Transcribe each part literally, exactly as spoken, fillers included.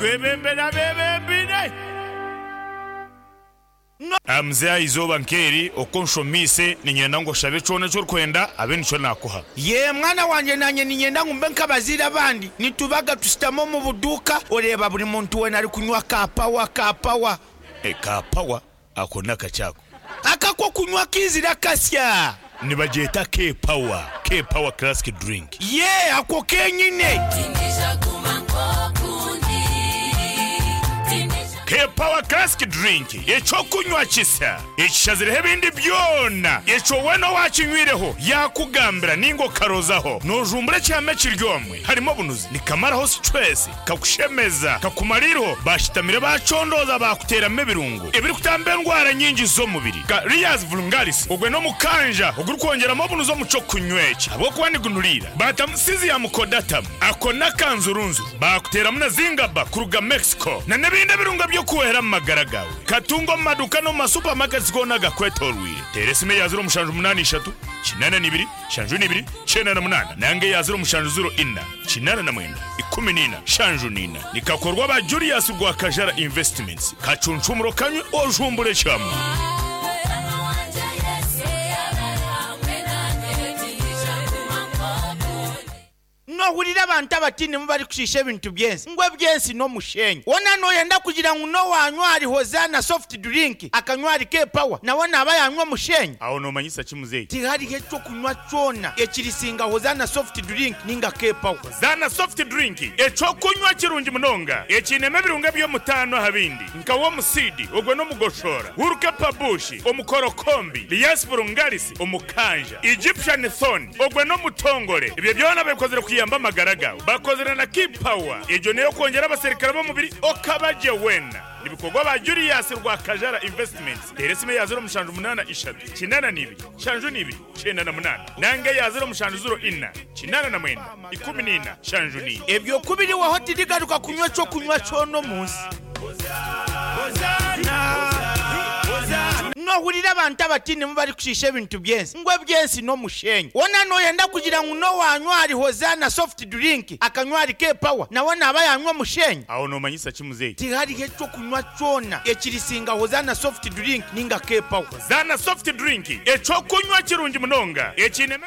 Twebembere abebembire. Mzee, izooba nk'eri uko nshomise, niinyenda ngu oshabe kyona eki orikwenda, abe nikyo naakuha. Ye mwana wangye, nanye niinyenda ngu mbe nk'abazaire abandi. Nitubaga tushutama omu buduuka, oreeba buri muntu weena arikunywa ka pawa, ka pawa. Ka pawa ako n'akakyako? Aka k'okunywa kaizire akasya. Nibagyeta K-Power, K-Power Classic Drink. Ye ako kenyine. K-Power Classic Drink, eky'okunywa kisya ekishazireho ebindi byona, ekyo weena owaakinywireho yaakugambira nainga okarozaho noojumbura ekihama ekiri omwe. Harimu obunuzi, nikamaraho situresi, kakushemeza, kakumara eiriho. Bashitamire bacondooza, baakuteeramu ebirungo ebirikutamba endwara nyingi z'omubiri nka Riaz Vulgaris. Ogwe n'omukanja ogurikwongyeramu obunuzi omu ky'okunywa eki ahabw'okuba nigunuriira. Baatamu Syzygium cordatum, ako n'akanzurunzu, baakuteeramu na Zingaba kuruga Mexico na n'ebindi ebirungo by'okuhwera omu magara gaawe. Katunga omu maduuka n'omu masupamaketi goona agakwetooroire. Teera esimu eya ziro mushanju munaana ishatu kinaana n'ibiri nshanju n'ibiri kyenda na munaana nanga eya ziro mushanju ziro ina kinaana na mwenda ikumi n'ina nshanju n'ina. Nikakorwa ba Julius Rwakajara Investments. Kacuncumuro kanywe ojumbure kyama. Nohurira abantu abatiinemu barikushiisha ebintu by'ensi, ngu eby'ensi n'omushenyi. Woona nooyenda kugira ngu n'owaanywa ahari Hozaana soft drink, akanywa ahari K-Power, nawe naaba yaanywa omushenyi? Aho noomanyisa ki, muzeeyi? Tihariho eky'okunywa kyona ekirisinga Hozaana soft drink nainga K-Power. Hozaana soft drink, eky'okunywa kirungi munonga ekiinemu ebirungo eby'omutaano aha bindi nka womusiidi, ogwo n'omugoshoora, Wurukepa bush, omukorokombi, Lias vulgaris, omukanja, Egyptian thorn, ogwo n'omutongore. Ebyo byona babikozire kuyamba amagara gaawe. Bakozire na K-Power, egyo n'ey'okwongyera abaserukare b'omubiri okaba gye weena. Nibikorwa ba Julius Rwakajara Investments. Teera esimu eya ziro mushanju munaana ishatu kinaana n'ibiri nshanju n'ibiri kyenda na munaana nanga eya ziro mushanju ziro ina kinaana na mwenda ikumi n'ina nshanju n'ina. Ebyo ku biriwaho tirigaruka kunywa eky'okunywa kyona omu nsi. Nohurira abantu abatiinemu barikushiisha ebintu by'ensi, ngu eby'ensi n'omushenyi. Woona nooyenda kugira ngu n'owaanywa ahari Hozaana soft drink, akanywa ahari K-Power, nawe naaba yaanywa omushenyi? Aho noomanyisa ki, muzeeyi? Tihariho eky'okunywa kyona ekirisinga Hozaana soft drink nainga K-Power. Hozaana soft drink, eky'okunywa kirungi munonga ekiinemu.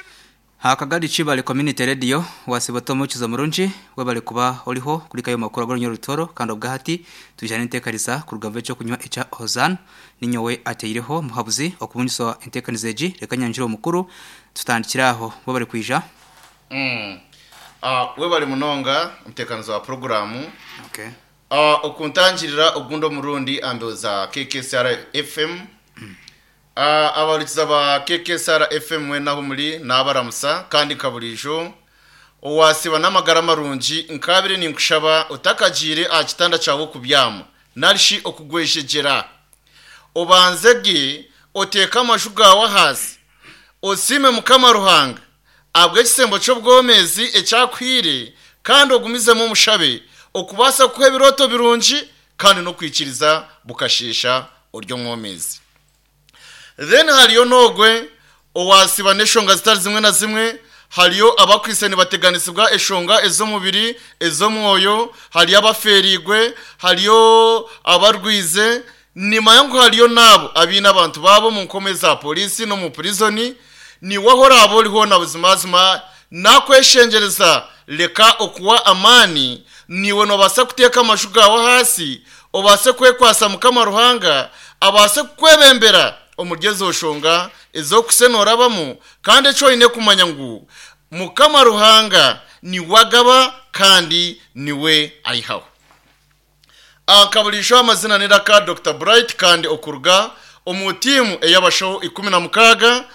Hakagari Kibale Community Radio, wasiba omukizo murungi, webale kuba oriho kuri kayo makuru agorunyo rutoro. Kandi obwahati tujana enteekaniza kuruga ekyo kunywa ekya Hozan. Ninyowe ateireho muhabuzi okubungiswa enteekaniza egi. Reka nyanjire omukuru, tutandikiraho. Webale kwija. Mm. Uh, webale munonga, omuteekanizi wa puroguramu. okay. uh, okuntangirira ogundi omurundi ambeho K K S R F M. uh, abahurikiza ba K K S R F M mwena aho muri, nabaramusa. Kandi nka burijo, owasiba n'amagara marungi, nkabire ninkushaba otakagiire aha kitanda kyawe okubyama narishi okugwejegyera, obanze ge oteeke amaju gawe ahaasi, osiime Mukama Ruhanga ahabw'ekisembo ky'obwomezi ekyakuhire, kandi ogumizemu omushabe okubaasa kuha ebirooto birungi kandi n'okwikiriza bukasheesha ori omwomezi. Then hariyo n'ogwe owasiba n'eshonga zitari zimwe na zimwe. Hariyo abakwise nibateganisibwa eshonga ez'omubiri, ez'omwoyo, hariyo abaferigwe, hariyo abarwize. Nimanya ngu hariyo n'abo abiine abantu babo mu nkome za polisi no mu prison. Niwe oraba oriho na buzimazima, nakweshengereza, reka okuwa amaani. Niwe nobaasa kuteeka amaju gawe hasi, obaase kwekwasa Mukama Ruhanga, abaase kukwebembera omuri ezo nshonga ez'okusenorabamu. Kandi ekyo oine kumanya ngu Mukama Ruhanga niwe agaba kandi niwe ayihaho. Akaburisho, amazina niraka Doctor Bright, kandi okuruga omu tiimu ey'abashaho ikumi na mukaaga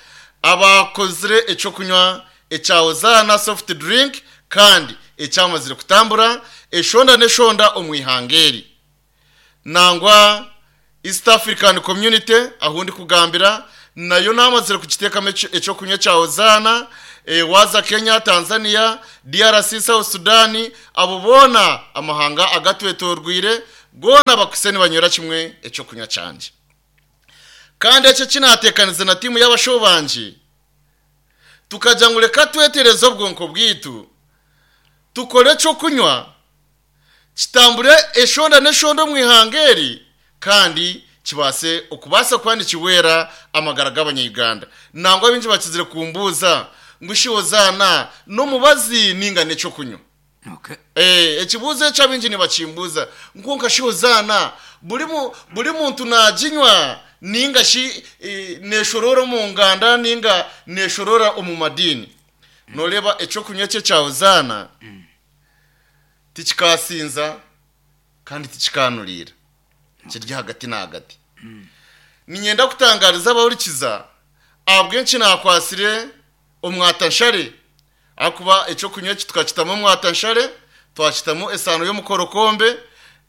abakozire ekyokunywa ekya Hozana soft drink, kandi ekyamazire kutambura eshonda n'eshonda omu ihanga eri, nangwa East African Community ahu ndi kugambira nayo namazire kugiteekamu ekyokunywa kya Hozana. e, waza Kenya, Tanzania, D R C, South Sudan, abo boona amahanga agatwetorwire goona bakuse nibanywera kimwe ekyokunywa kyangye. Kandi ekyo kinateekanize na tiimu y'abashaho bangye, tukajya ngu reka twetereze obwonko bwitu, tukore ekyokunywa. Kitambure eshonda n'eshonda omu ihanga eri, kandi kibase okubaasa kuba nikiwera amagara g'abanyayuganda. Nangwa bingi bakizire kumbuuza ngu shi Hozaana n'omubazi ninga n'ekyokunywa. Okay. Eh, ekibuuzo ekyo abingi nibakimbuuza ngu nka shi Hozaana buri mu- buri muntu naginywa ninga shi eh, neshorora omu nganda ninga neshorora omu madini. Noreeba ekyokunywa ekyo ekya Hozaana tikikasinza kandi tikikanuriira, kiri hagati na hagati. Ninyenda kutangariza abahurikiza ahabw'enki nakwasire omwatanshare, ahakuba ekyokunywa eki tukakitamu omwatanshare, twakitamu esaano y'omukorokombe,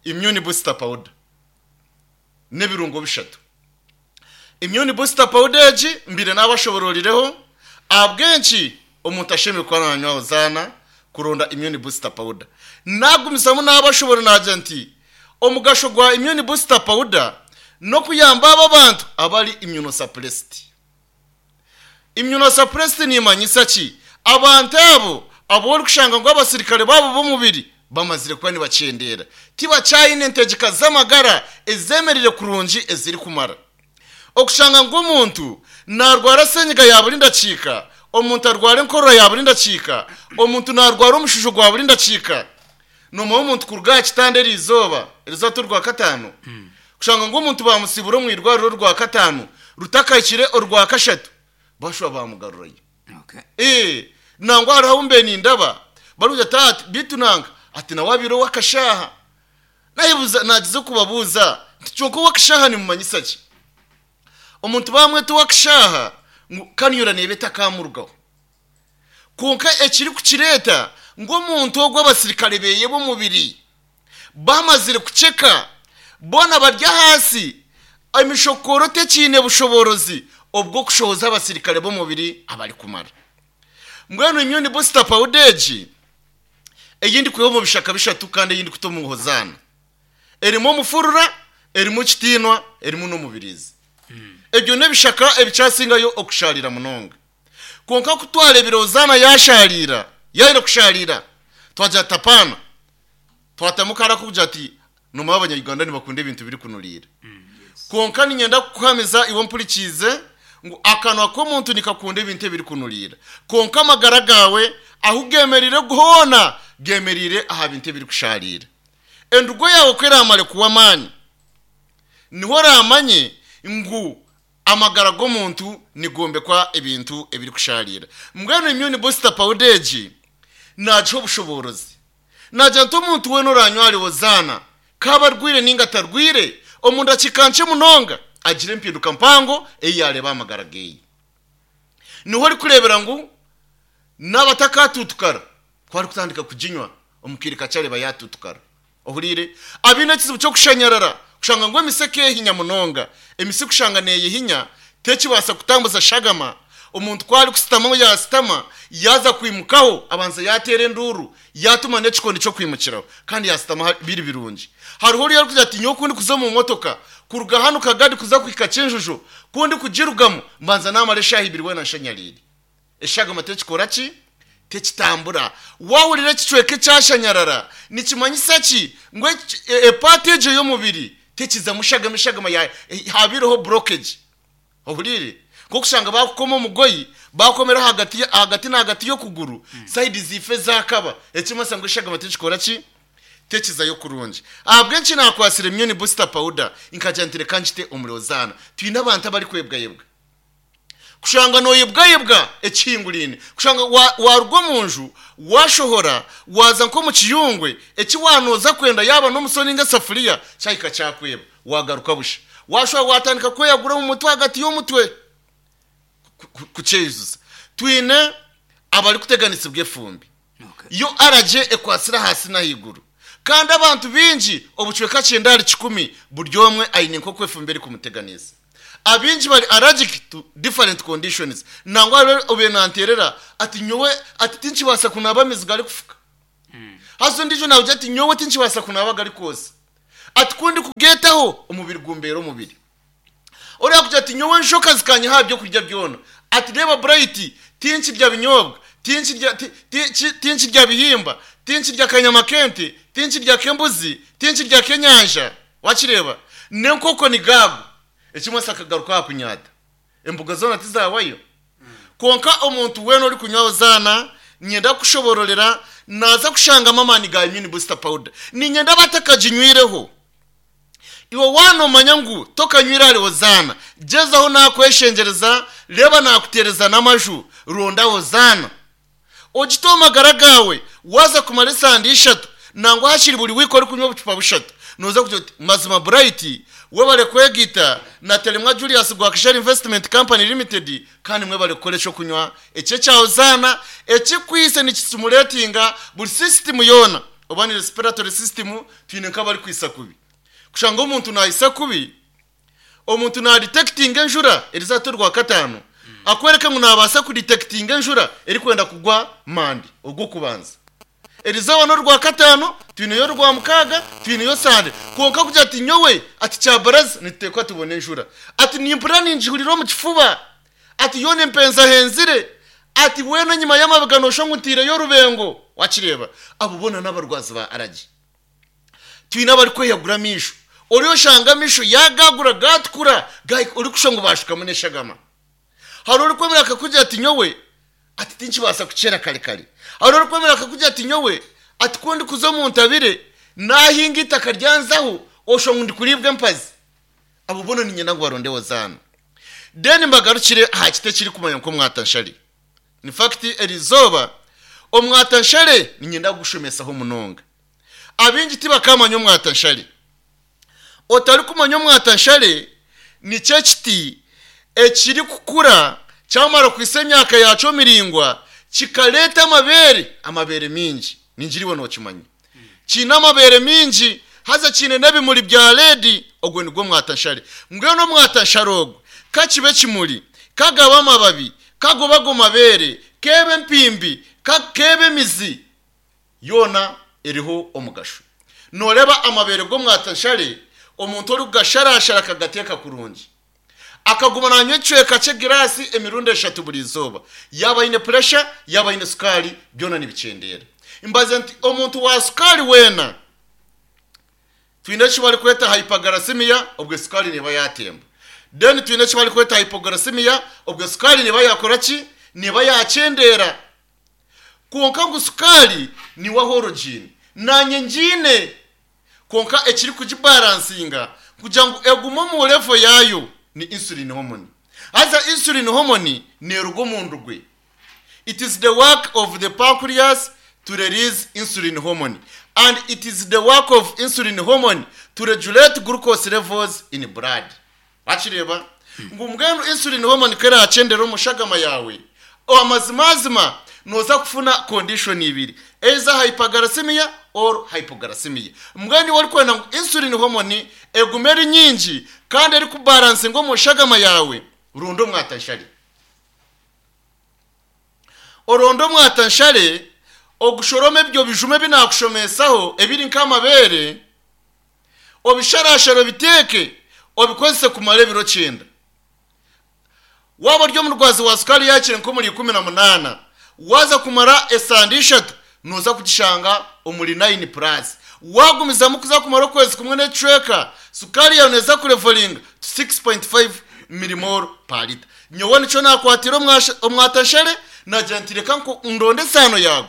immune booster powder n'ebirungo bishatu. Immune booster powder egi mbire n'abashobororireho ahabw'enki omuntu ashemereire kuba nanywa Hozaana kuronda immune booster powder. Nagumizamu n'abashobora nagira nti omugasho gwa immune booster powder n'okuyamba abo abantu abari immunosuppressed. Immunosuppressed nimanyisa ki? Abantu abo abo orikushanga ngu abasirikare babo b'omubiri bamazire kuba nibakyendera, tibakyayine entegeka z'amagara ezemerire kurungi eziri kumara. Okushanga ngu omuntu narwara senyiga ya buri ndakiika, omuntu arwara enkorora ya buri ndakiika, omuntu narwara omushujo gwa buri ndakiika. Nomuha omuntu kuruga aha kitanda eri izooba, erizooba ti orwa kataano, kushanga ngu omuntu bamusibura omu irwariro orwa kataano rutakahikire orwa kashatu, bashuba bamugarurayo. Okay. Eh, nangwa hariho ahu mbe nindaba barugira ati ati bitu nanga ati nawe abire owakashaha. Nayebuza nagize kubabuuza nti kyonka owakashaha nimumanyisa ki? Omuntu bamweta owakashaha ngu kanyura neeba etakamurugaho. Kwonka ekiri kukireeta ngu omuntu ogwo abasirikare beye b'omubiri bamazire kuceka, boona bari ahansi, emishokoro tekiine bushoborozi obw'okushohoza abasirikare b'omubiri abari kumara. Mbwenu immune booster powder egi eyindi kwiha omu bishaka bishatu kandi eyindi kuta omu Hozaana, erimu omufurura, erimu kitiinwa, erimu n'omubirizi. Ebyo n'ebishaka ebikyasingayo okusharira munonga. Kwonka kutwarebire Hozaana yasharira, yahire kusharira, twagira tapana, twatamu kara kugira ati nomaba abanyayuganda nibakunda ebintu biri kunuriira. Kwonka ninyenda kukuhamiza iwe mpurikiize ngu akanwa k'omuntu nikakunda ebintu ebiri kunuriira, kwonka amagara gawe ahu gemerire hoona gemerire aha bintu ebiri kusharira. Endugo yawe ko eramare kuwa amaani, niho oramanye ngu amagara g'omuntu nigombekwa ebintu ebiri kusharira. Mbwenu immune booster powder egi nagiha obushoborozi, nagira nti omuntu weena oranywa ahari Hozaana kaba arwire ninga atarwire, omu ndakiika nkye munonga agira empinduka mpango eyi yareeba amagara geye. Niho orikureebera ngu n'abatakatutukara ku arikutandika kuginywa omu kaire kakye areba yatutukara. Ohuriire abiine ekizibu ky'okushanyarara, kushanga ngu emise ekeehinya munonga, emise kushanga neeyehinya tekibaasa kutambuza shagama. Omuntu ku ari kusitama yasitama yaza kwimukaho abanza yateera enduuru, yatuma n'ekikondi ky'okwimukiraho kandi yasitama biri birungi. Hariho oriya arikugira ati nyowe kundi kuza omu motoka kuruga hano Kagadi kuza kuhika Kyenjojo, kundi kugirugamu mbanza namara eshaaha ibiri weena nshanyariire. Eshagama tekikora ki? Tekitambura. Wahurira ekicweka ekyashanyarara nikimanyisa ki? Ngu epaati egyo y'omubiri tekizamu shagama, eshagama habireho blockage. Ohuriire nkokushanga bakukoma omugoyi bakomera hagati hagati na hagati y'okuguru, side zife zakaba, ekimasa ngu eshagama tekikora ki? Tekizayo kurungi. Ahabw'enki nakwasire immune booster powder nkagira nti reka nkite omuri Hozaana? Twine abantu abari kwebwayebwa, kushanga noyebwayebwa ekihingurine, kushanga waruga omu nju washohora waza nko mu kiyungwe, eki wanoza kwenda yaba n'omusoni ninga esafuriya kyahika kyakweba, wagaruka busha, washobora watandika kweyagura omu mutwe, hagati y'omutwe kukyejuza. Twine abari kuteganisibwa efumbi, yo araje ekwasira hasi n'ahaiguru, kandi abantu bingi obucweka kyenda ahari kikumi buri omwe aine nk'oku efumbi eri kumuteganisa. Abingi bari allergic to different conditions. Nangwa hariho obe nanterera ati nyowe ati tinkibaasa kunaaba amaizi gari kufuka. Haza ondiijo nagira ati nyowe tinkibaasa kunaaba gari kwosa, ati kundi kugeetaho omubiri gumbeera omubiri. Oriya kugira ati nyowe enshoka zikanyiha aha byokurya byona, ati reeba Bright, tinkirya binyobwa, tinkirya tinkirya bihimba. Tinkirya akanyama k'ente, tinkirya k'embuzi, tinkirya k'enyanja. Wakireba n'enkoko ni gaago. Ekimwe akagaruka aha kunyata embuga zoona tizawayo. Konka omuntu weena ori kunywa Hozaana, nyenda kushobororera naza kushangamo amaani ga immune booster powder. Ninyenda batakaginywireho. Iwe wanomanya ngu tokanywire ahari Hozaana, gezaho, nakweshengereza, reba nakutereza n'amaju, ronda Hozaana ogite omu magara gawe. Waza kumara esande ishatu nangwa hakiri buri wiiki ori kunywa obucupa bushatu, noza kugira oti mazima Bright webale kwegita na Telemwa Julius Gwakishari Investment Company Limited, kandi mwebale kukora ekyokunywa ekyo ekya Hozaana ekikwise nikistimulatinga buri system yoona, oba ni respiratory system. Twine nk'abari kwisa kubi, kushanga omuntu nayisa kubi, omuntu nadetectinga enjura erizata rwa katano, akwereka ngu nabaasa kudetectinga enjura erikwenda kugwa mandi ogw'okubanza erizooba n'orwa katano. Twineyo orwa mukaaga, twineyo sande, konka kugira ati nyowe ati kyabaraza nituteekwa tubone enjura, ati nimpurira ningihurira omu kifuba, ati yoona empenza henzire, ati weena enyima y'amabega nosha ngu ntiireyo orubengo. Wakireba abo boona n'abarwazi ba aragi. Twine abari kweyagura amisho, ori oshanga amisho yagagura gatukura, ori kusha ngu bashukamu n'eshagama. Hari ori kwemera akakugira ati nyowe ati tinkibaasa kukyera kare kare. Hari ori kwemera akakugira ati nyowe ati ko ndikuza omu ntabire nahinga itaka ryanzaho, osha ngu ndikuribwa empazi. Abo boona ninyenda ngu baronde Hozaana. Then mbagarukire aha kiti ekiri kumanya nk'omwatanshare. In fact, erizooba omwatanshare ninyenda kugushomesaho munonga. Abingi tibakamanya omwatanshare. Otari kumanya omwatanshare nikyo ekiti ekiri kukura kyamara kwisa emyaka yakyo miringwa kikaleta amabere, amabere mingi. Ningiriwe nokimanya kiine amabere mingi, haza kiine n'ebimuri bya red. Ogwo nigwo mwatanshare. Mbwenu omwatanshare ogwo kakibe ekimuri, kagaba amababi, kagoba ago mabere, kebe empimbi, kebe emizi, yoona eriho omugasho. Noreba amabere g'omwatanshare, omuntu ori kugasharashara akagateeka kurungi, akaguma nanywa ekicweka ky'egirasi emirundi eshatu buri izooba, yaba aine pressure, yaba aine sukaari, byona nibikendera. Mbaze nti omuntu wa sukaari weena, twine eki bari kweta hyperglycemia, obwo sukaari niba yatemba. Then twine eki bari kweta hypoglycemia, obwo sukaari niba yakora ki? Niba yakendera. Konka ngu sukaari niwa origin nanye ngiine, konka ekiri kugibalancinga kugira ngu egume omu level yayo ni insulin hormone. Haza insulin hormone neruga omu ndugwe. It is the work of the pancreas to release insulin hormone, and it is the work of insulin hormone to regulate glucose levels in blood. Wakireba ngu mbwenu insulin hormone kerakyendera omushagama yawe, amazimazima noza kufuna condition ibiri, either hyperglycemia or hypoglycemia. Mbwenu wari kwenda ngu insulin hormone egume eri nyingi kandi eri kubalancinga omushagama yawe, rundo omwatanshare. Orondo omwatanshare, ogushorome ebyo bijume ebinakushomesaho ebiri nk'amabere, obisharashara, obiteeke, obikozese kumara ebiro kyenda. Waba ori omurwazi wa sukari yakire nk'omuri ikumi na munaana, waza kumara esande ishatu noza kugishanga omuri nine plus. Wagumizamu kuza kumara okwezi kumwe n'ekicweka, sukari yawe neza kulevelinga to six point five millimole per liter. Nyowe nicyo nakwatira omwatashere, nagira nti reka ndonde esano yawe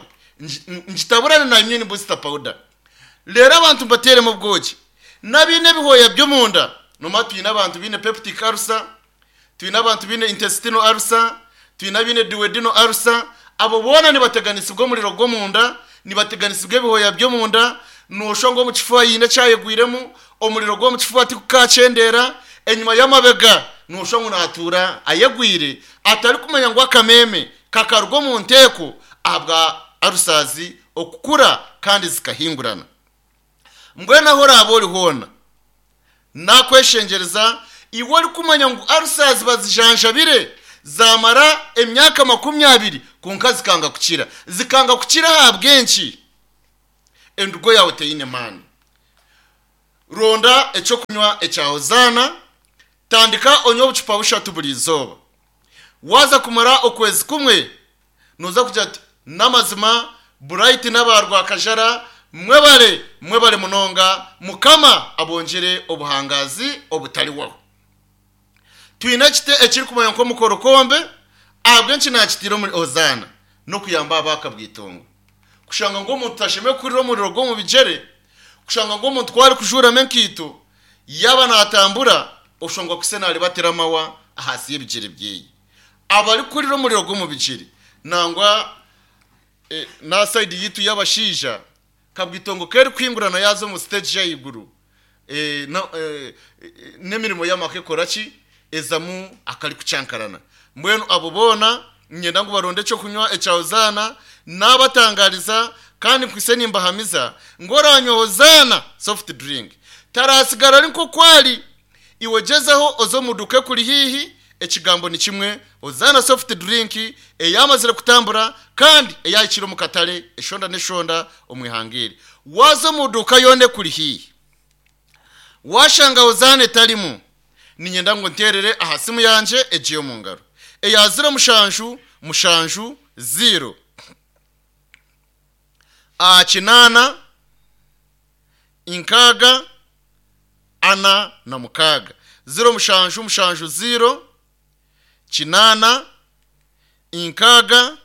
ngitaburane na immune booster powder. Rero abantu mbateremo obwoki n'abiine ebihoya by'omunda. Noma twine abantu biine peptic ulcer, twine abantu biine intestinal ulcer, twine abiine duodenal ulcer. Abo boona nibateganisibwa omuriro gw'omunda, nibateganisibwa ebihoya by'omunda. Noshonga omu kifuba yiine ekyayegwiremu, omuriro gw'omu kifuba tikukakyendera. Enyuma y'amabega noshonga natuura ayegwire, atari kumanya ngu akameme kakaruga omu nteeko ahabwa ulcers okukura kandi zikahingurana. Mbwenu aho oraaba ori hoona, nakweshengereza, iwe ori kumanya ngu ulcers bazijanjabire zamara emyaka makumi abiri, konka zikanga kukira, zikanga kukira ahabw'enki? Endugo yawe teyine maani. Ronda ekyokunywa ekya Hozaana, tandika onywe obucupa bushatu buri izooba. Waza kumara okwezi kumwe, noza kugira ati n'amazima Bright n'aba Rwakajara, mwebale mwebale munonga, Mukama abongere obuhangazi obutaliwaho. Twine ekite ekirikumanya nk'omukorokombe, ahabw'enki nakitiire omuri Hozaana n'okuyamba abakabwitongo. Kushanga ngu omuntu tashemeriire kuhurira omuriro gw'omu bigyere, kushanga ngu omuntu ku arikujuuramu enkaito yaaba naatambura oshangwa kuse naaribatira amawa ahansi y'ebigyere byeye. Abarikuhurira omuriro gw'omu bigyere nangwa eh, na side yitu y'abashaija kabwitongo keri kuhingurana yaza omu stage y'ahaiguru, eh, na- eh, eh, n'emirimo y'amaka ekora ki ezamu akari kucankarana. Mbwenu abo boona nyenda ngu baronde ekyokunywa ekya Hozaana, nabatangariza kandi nkwise nimbahamiza ngu oranywa Hozaana soft drink tarasigara ari nk'okwari. Iwe gyezaho oze omu duka ekuri haihi, ekigambo ni kimwe, Hozaana soft drink eyamazire kutambura kandi eyahikire omu katare eshonda n'eshonda omu ihanga eri. Waza omu duka yoona ekuri haihi, washanga Hozaana etarimu, ninyenda ngu nterere aha simu yangye egiye omu ngaro eya ziro mushanju mushanju ziro a kinaana inkaaga ana na mukaaga, ziro mushanju mushanju ziro kinaana inkaaga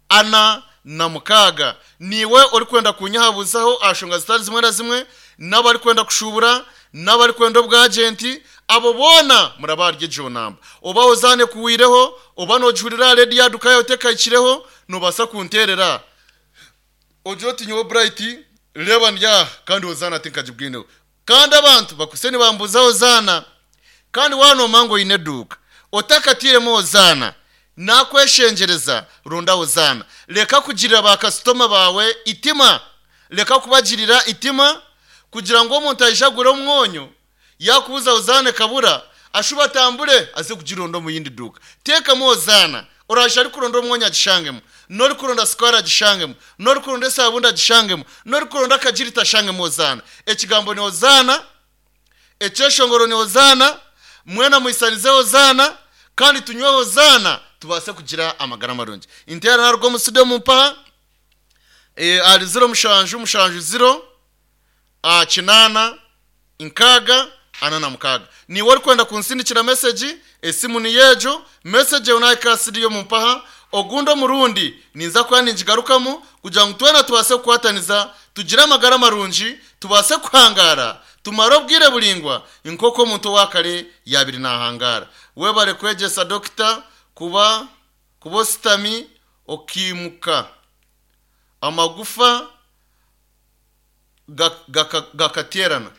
ana na mukaaga. Niiwe orikwenda kunyehabuzaho aha nshonga zitari zimwe na zimwe, n'abarikwenda kushubura, n'abarikwenda obwagenti, abo boona muraba ahari egyo namba. Oba Hozaana ekuhwireho, oba noogihurira aha rediyo aha duka yaawe tekahikireho, noobaasa kunteerera ogira oti nyowe Bright reeba ndi aha kandi Hozaana tinkagibwineho. Kandi abantu bakwise nibambuuza Hozaana, kandi waanooma ngu oine eduuka otakatiiremu Hozaana, nakweshengyereza ronda Hozaana. Reka kugirira bakasitoma baawe itima, reka kubagirira itima kugira ngu omuntu aije agure omwonyo, yakubuza Hozaana ekabura, ashuba atambure aze kugironda omu yindi duuka. Teekamu Hozaana, oraija arikuronda omwonyo agishangemu, n'orikuronda sukaari agishangemu, n'orikuronda esabuuni agishangemu, n'orikuronda akagirita ashangemu Hozaana. Ekigambo ni Hozaana, ekyeshongoro ni Hozaana, mwena mwisanize Hozaana, kandi tunywe Hozaana tubaase kugira amagara marungi. Inteera naruga omu studio mumpaha eh, ahari ziro mushanju mushanju ziro ah, kinaana nkaaga ana na mukaaga. Niiwe orikwenda kunsindikira message, esimu niyo egyo, message eyo nahika studio mumpaha, ogundi omurundi ninza kuba ningigarukamu kugira ngu twena tubaase kukwataniza tugire amagara marungi, tubaase kuhangara, tumare obwire buringwa nk'oku omuntu owakare yabiri nahangara. Webare kwegyesa dokita kuba kuba ositami okiimuka amagufa gakaterana.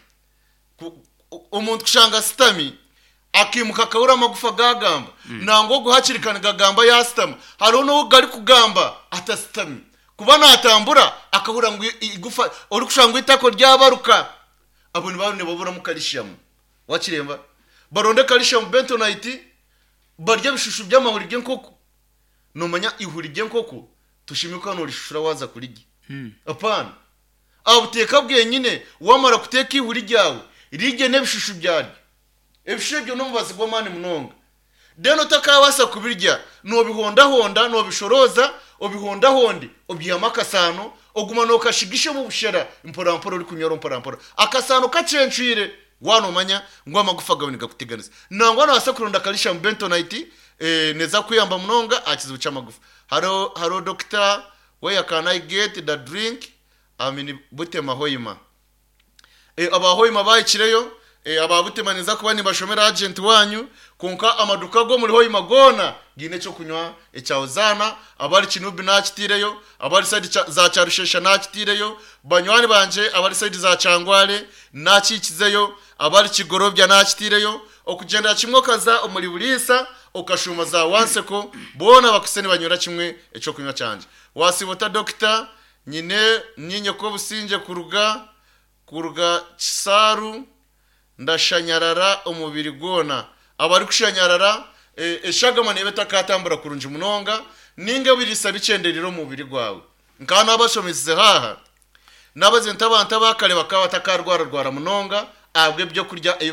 Omuntu kushanga sitami akimuka akabura amagufa gagamba, nangwa ogu hakiri kare gagamba yasitama, hariho n'ogu gari kugamba atasitami, kuba natambura akahurira ngu igufa orikushanga ngu itako ryabaruka. Abo nibaba nibaburamu calcium. Wakiremba baronde calcium bentonite, barya ebishushu by'amahuri g'enkoko. Nomanya ihuri ry'enkoko tushimika norishushura waza kurirya, apana abuteeka bwenyine. Wamara kuteeka ihuri ryawe rirye n'ebishushu byaryo, ebishushu ebyo n'omubazi gw'amaani munonga. Then otakabasa kubirya nobihondahonda, nobishoroza, obihondahonde, obyihamu akasano, oguma nokashigisha omu bushera mpora mpora, orikunyora mpora mpora akasano kacencwire. Wanomanya ngu amagufa gawe nigakuteganisa, nangwa nobasa kuronda calcium bentonite, eh, neza kuyamba munonga aha kizibu ky'amagufa. Haro haro doctor, where can I get the drink? I'm in Butema Hoima. E, aba Hoima bahikireyo, e, aba Butema niza kuba nibashomera agent wanyu, konka amaduka go muri Hoima gona giine ekyokunywa ekya Hozaana. Abari Kinubi nakitiireyo, abari side cha, za Kyarushesha nakitiireyo, banywani banje abari side za Kyangwale nakikizeyo, abari Kigorobya nakitiireyo, okugendera kimwe okaza omuri Buriisa okashuma za Wanseko, boona bakuse nibanywera kimwe ekyokunywa kyangye. Wasibota dokita, nyine ninye ko obusinge kuruga kuruga Kisaaru, ndashanyarara omubiri gwona. Abarikushanyarara, e, eshagama neeba etakatambura kurungi munonga, ninga ebiriisa bikyenderire omu mubiri gwawe. Nkaba nabashomesize haha nabaze nti abantu abakare bakaba batakarwararwara munonga ahabw'ebyokurya ebi